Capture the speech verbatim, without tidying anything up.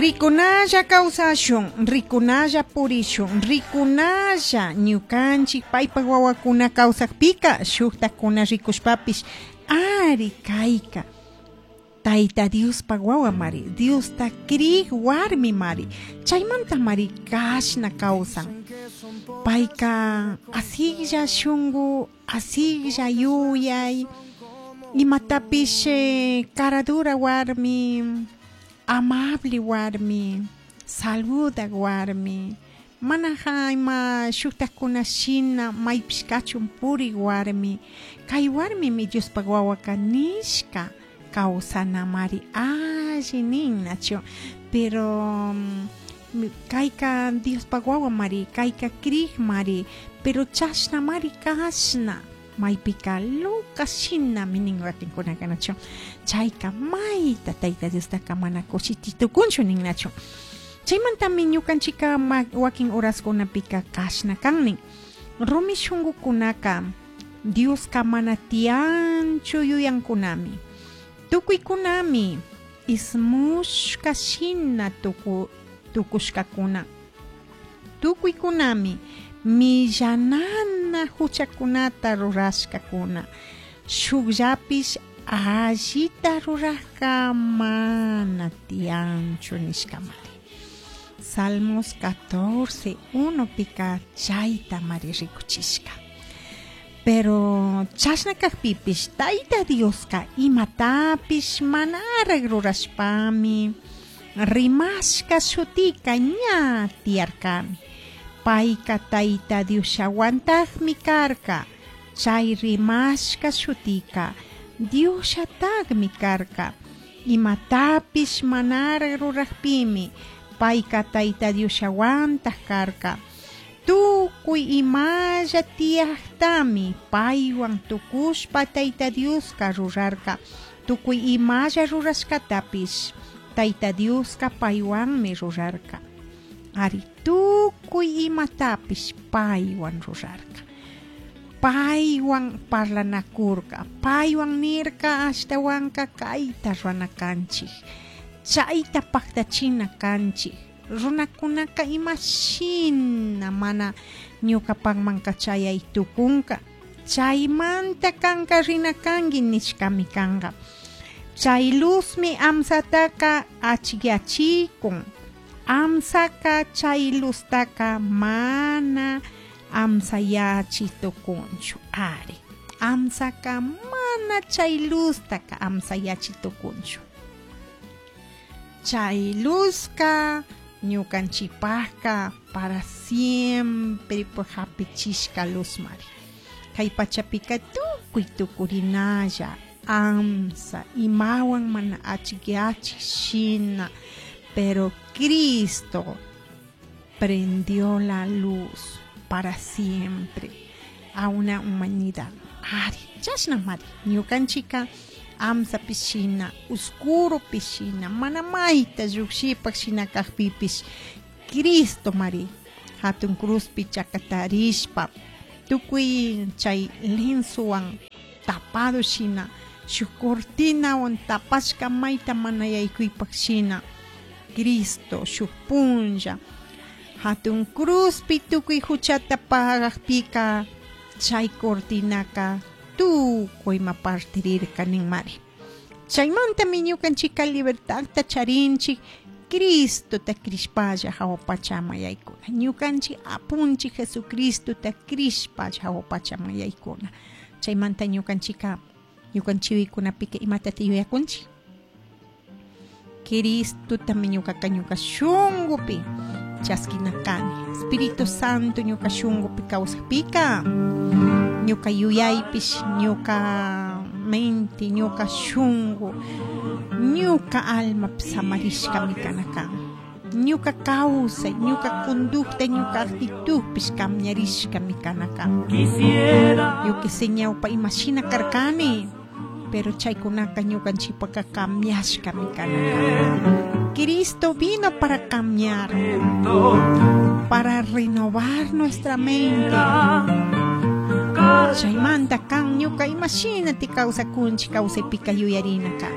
Ricunalla kawsashun, ricunalla purishun, ricunalla ñukanchik paypak wawakuna kawsakpika shuktakuna rikushpapish ari kayka Tayta Diospak wawa mari, Diosta krik warmi mari, chaymanta mari kashna kawsan. Payka asiklla shunku, asiklla yuyay, imatapish eh, caradura warmi, amable warmi, saludak warmi, mana ima shuktakuna shina maypish kachun purik warmi, kay warmimi Diospak wawaka nishka kawsanamari alli nin, nachu? Pero kayka Diospak wawa mari, kayka krik mari, pero chashna mari kashna maypika loca shinami nin wakinkunaka, nachu? Chayka mayta Tayta Diostaka mana kushichi tukunchu nin, nachu? Chaymantami ñukanchika wakin horaskunapika kashna kan nin. Rumi shunkukunaka Dioska mana tiyanchu yuyankunami. Tukuykunami ismushka shina tuku tukushkakuna. Tukuykunami millanana huchakunata rurashkakuna. Shukllapish allita rurajka mana tiyanchu nishkamari. Salmos catorce, uno pika chayta mari rikuchishka. Pero chashna kakpipish Tayta Dioska imatapish manarak rurashpami rimashka shutika ña tiyarkami. Payka Tayta Diosllawantakmi karka. Chay rimashka shutika Diosllatakmi karka. Imatapish manarak rurakpimi payka Tayta Diosllawantak karka. Tukuy imalla tiyaktami paywan tukushpa Tayta Dioska rurarka. Tukuy imalla rurashkatapish Tayta Dioska paywanmi rurarka. Ari tukuy imatapish paywan rurarka. Paywan parlanakurka, paywan nirka ashtawanka kayta rurana kanchik, chayta paktachina kanchik. Runakunaka imashina mana ñukapakmanka chayay tukunka, chaymanta kanka rina kanki nishkami kanka. Chay luzmi amsataka achikyachikun. Amsaka chay luztaka mana amsayachi tukunchu. Ari, amsaka mana chay luztaka amsayachi tukunchu. Chay luzka ñukanchikpakka para siempre hapichishka luz mari. Kay pachapika tukuy tukurinalla amsa imawan mana achikyachik shina, pero Cristo prendió la luz para siempre a una humanidad. Ari, chashna mari, ñukanchika amsapish shina, oscuropish shina, mana mayta llukshipak shina kakpipish, Cristo mari, hatun cruzpi chakatarishpa, tukuy chay linsuwan tapado shina, shuk cortinawan tapashka mayta mana yaykuypak shina, Cristo shuk punlla hatun cruzpi tukuy huchata pagakpika, chay cortinaka tukuy ma partirirka nin mari. Chaymantami ñukanchika libertadta charinchik, Cristota krishpalla hawa pachama yaykuna. Ñukanchik apunchik Jesucristota krishpalla hawa pachama yaykuna. Chaymanta ñukanchika ñukanchiwikunapika imatata yuyakunchik? Cristotami ñukaka ñuka shunkupi chaskina kani. Espíritu Santo ñuka shunkupi kawsakpika, ñuka yuyaypish, ñuka mente, ñuka shunku, ñuka almapish samarishkami kana kan. Ñuka kawsay, ñuka conducta, ñuka actitudpish cambiarishkami kana kan. Quisiera Yo que sé ñawpa imashina karkani, pero chaykunaka ñukanchikpaka cambiashkami kana kan. Cristo vino para cambiar, para renovar nuestra mente. Chaymanta kan ñuka imashinati kawsakunchik kawsaypika yuyarina kan.